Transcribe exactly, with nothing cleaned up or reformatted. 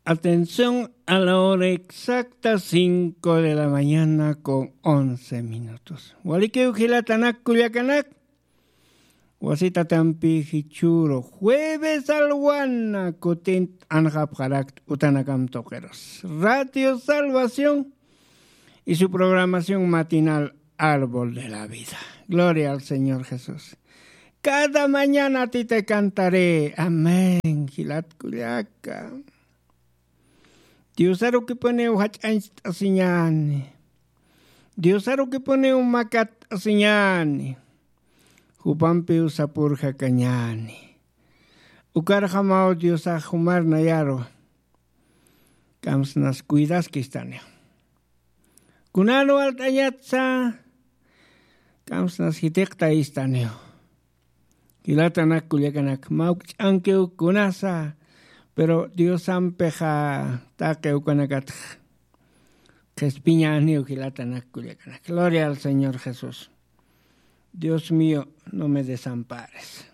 Atención, a la hora exacta, cinco de la mañana con once minutos. Walikiw jilatanak kullakanak. Wasitatampi jichhüru jueves alwana kutint anxapxarakt utanakam tuqirus. Radio Salvación y su programación matinal Árbol de la Vida. Gloria al Señor Jesús. Cada mañana a ti te cantaré. Amén. Jilat kullaka. Diosarukipuniw jach'añcht'asiñäni. Diosarukipuniw makatt'asiñäni. Jupampiw sapürjakañäni. Ukarjamaw Diosax jumar nayaru kamsnas cuidaskistaniw. Kunan walt'añatsa kamsnas jitiqtayistaniw. Jilatanak kullakanak, mawkch'ankiw kunasa, pero Diosampixa taqi ukanakatx qhispiñäniw. Jilatanak kullakanak, gloria al Señor Jesús. Dios mío, no me desampares.